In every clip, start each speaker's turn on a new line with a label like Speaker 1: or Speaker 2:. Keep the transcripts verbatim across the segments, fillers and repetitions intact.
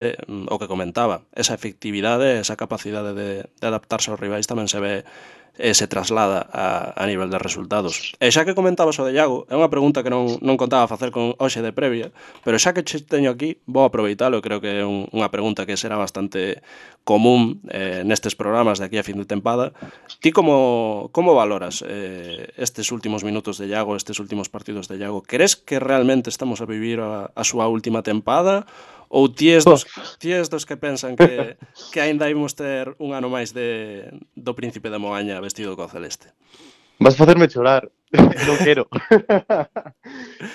Speaker 1: eh, o que comentaba, esa efectividade, esa capacidade de, de adaptarse aos rivais tamén se ve e se traslada a, a nivel de resultados. E xa que comentabas o de Iago, é unha pregunta que non, non contaba facer con hoxe de previa, pero xa que che teño aquí, vou aproveitalo, creo que é un, unha pregunta que será bastante común eh, nestes programas de aquí a fin de tempada. Ti como, como valoras eh, estes últimos minutos de Iago, estes últimos partidos de Iago? Crees que realmente estamos a vivir a, a súa última tempada? Ou ti es dos, ti es dos que pensan que, que aínda imos ter un ano máis de, do Príncipe de Moaña vestido co celeste?
Speaker 2: Vas facerme chorar. Non quero.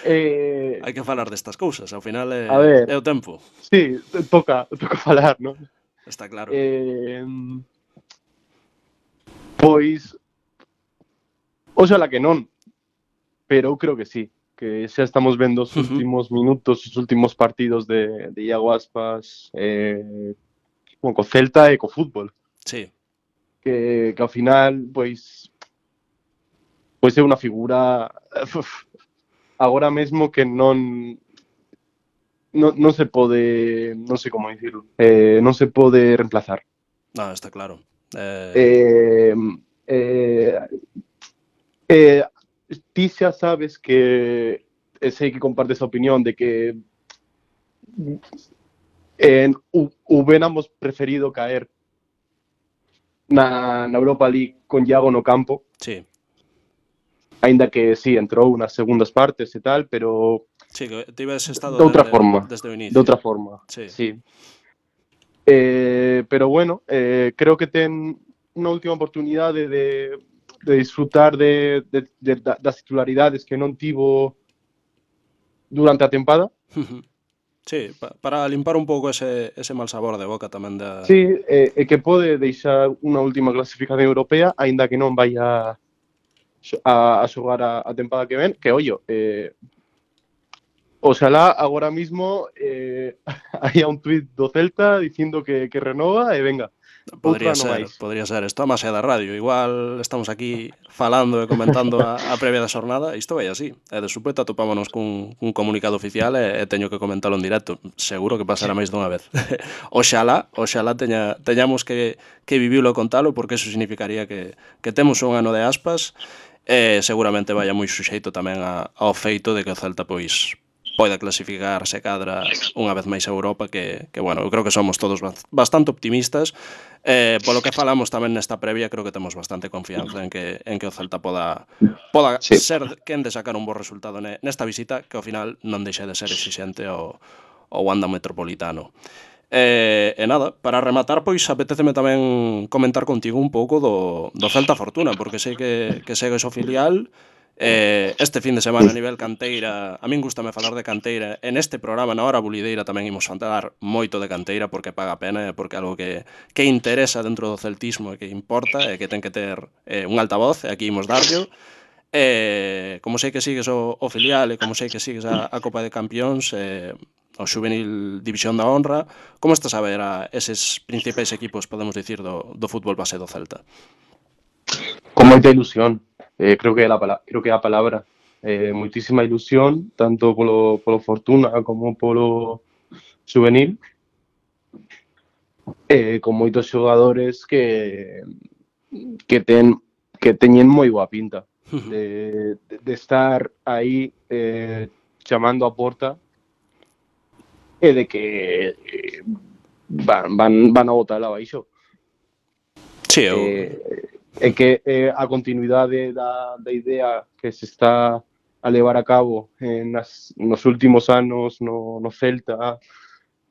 Speaker 2: eh,
Speaker 1: Hai que falar destas cousas, ao final
Speaker 2: a
Speaker 1: é,
Speaker 2: ver,
Speaker 1: é o tempo.
Speaker 2: sí, toca, toca falar, non?
Speaker 1: Está claro.
Speaker 2: Eh, pois, oxala que non, pero eu creo que sí, que xa estamos vendo os
Speaker 1: Uh -huh.
Speaker 2: últimos minutos, os últimos partidos de, de Iago Aspas eh, co Celta e co fútbol.
Speaker 1: Sí.
Speaker 2: Que, que ao final, pois, pois é unha figura uf, agora mesmo que non non, non se pode, non sei como dicirlo, eh, non se pode reemplazar.
Speaker 1: No, está claro. Eh...
Speaker 2: Eh, eh, eh, ti xa sabes que e sei que compartes a opinión de que eh, hubiéramos preferido caer na, na Europa League con Iago no campo.
Speaker 1: Sí.
Speaker 2: Ainda que sí, entrou nas segundas partes e tal, pero
Speaker 1: sí, que te ibas estado
Speaker 2: de outra
Speaker 1: desde,
Speaker 2: forma,
Speaker 1: desde o inicio.
Speaker 2: de outra forma,
Speaker 1: sí.
Speaker 2: sí. Eh, pero bueno, eh, creo que ten unha última oportunidade de, de disfrutar de, de, de, das titularidades que non tivo durante a tempada.
Speaker 1: Sí, pa, para limpar un pouco ese, ese mal sabor de boca tamén da...
Speaker 2: Sí, e eh, que pode deixar unha última clasificación europea, aínda que non vai a, a, a xogar a, a tempada que ven, que ollo, eh, oxalá agora mismo eh, hai un tuit do Celta dicindo que, que renova e venga, outro
Speaker 1: Podría
Speaker 2: ano
Speaker 1: ser,
Speaker 2: máis.
Speaker 1: podría ser. Isto a máis da radio. Igual estamos aquí falando e comentando a, a previa da xornada. Isto vai así. E de súpeto atopámonos cun, cun comunicado oficial e, e teño que comentalo en directo. Seguro que pasará máis dunha vez. Oxalá, oxalá teña, teñamos que, que vivilo e contalo, porque eso significaría que, que temos un ano de Aspas e seguramente vaya moi suxeito tamén a, ao feito de que o Celta pois poida clasificarse cadra unha vez máis a Europa, que, que bueno, eu creo que somos todos bastante optimistas. Eh, polo que falamos tamén nesta previa, creo que temos bastante confianza en que, en que o Celta poda, poda sí. ser quen de sacar un bo resultado nesta visita, que ao final non deixa de ser exixente ao, ao Wanda Metropolitano. E, e nada, para rematar, pois apetéceme tamén comentar contigo un pouco do, do Celta Fortuna, porque sei que, que segues o filial. Eh, este fin de semana a nivel canteira, a min gustame falar de canteira. En este programa, na hora bulideira, tamén imos falar moito de canteira, porque paga pena e porque é algo que, que interesa dentro do celtismo e que importa e que ten que ter eh, un altavoz, e aquí imos darllo. Eh, como sei que sigues o, o filial e como sei que sigues a, a Copa de Campións, eh, o Xuvenil División da Honra, como estás a ver a eses principais equipos, podemos dicir, do, do fútbol base do Celta?
Speaker 2: Con moita ilusión, eh, creo que é a, creo que é a palabra. Eh, moitísima ilusión, tanto polo, polo Fortuna como polo Xuvenil, eh, con moitos xogadores que que ten que teñen moi boa pinta de, de, de estar aí eh, chamando a porta e de que eh, van, van, van a botar abaixo.
Speaker 1: Sí, eu...
Speaker 2: eh, e que eh, a continuidade da, da idea que se está a levar a cabo en nas, nos últimos anos no, no Celta,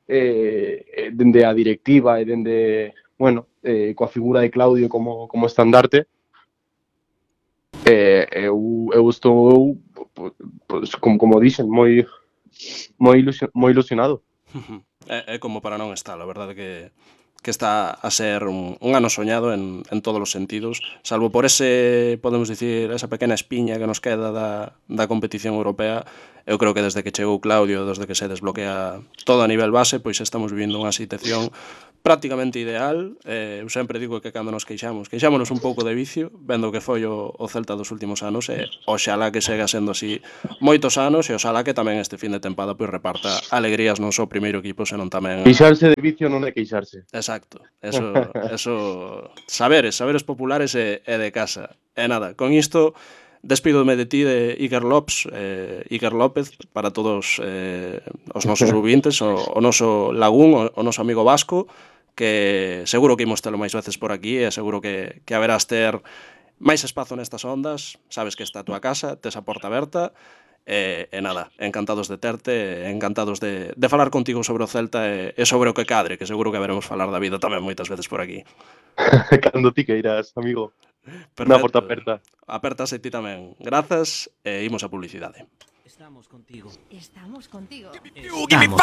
Speaker 2: eh, dende a directiva e dende, bueno, eh, coa figura de Claudio como, como estandarte, eh, eu, eu estou, pues, como, como dixen, moi moi, ilusion, moi ilusionado.
Speaker 1: É, é como para non estar, a verdade que que está a ser un, un ano soñado en, en todos os sentidos, salvo por ese, podemos dicir, esa pequena espiña que nos queda da, da competición europea. Eu creo que desde que chegou Claudio, desde que se desbloquea todo a nivel base, pois estamos vivindo unha situación prácticamente ideal. Eh, eu sempre digo que cando nos queixamos, queixámonos un pouco de vicio, vendo que foi o, o Celta dos últimos anos, e oxalá que sega sendo así moitos anos, e oxalá que tamén este fin de tempada pois reparta alegrías non só o primeiro equipo, senón tamén...
Speaker 2: Queixarse de vicio non é queixarse.
Speaker 1: Exacto, eso, eso saberes, saberes populares e, e de casa. E nada, con isto despídome de ti de Iker López, eh, Iker López para todos eh, os nosos ouvintes, o, o noso Lagún, o, o noso amigo vasco, que seguro que imos telo máis veces por aquí e seguro que, que haberás ter máis espazo nestas ondas, sabes que está a tua casa, tes a porta aberta, e, e nada, encantados de terte, encantados de, de falar contigo sobre o Celta e, e sobre o que cadre, que seguro que haberemos falar da vida tamén moitas veces por aquí.
Speaker 2: Cando ti queiras, amigo.
Speaker 1: Perfecto.
Speaker 2: Na porta aperta.
Speaker 1: Apertase ti tamén. Grazas e imos a publicidade.
Speaker 3: Estamos contigo.
Speaker 4: Estamos contigo.
Speaker 3: Estamos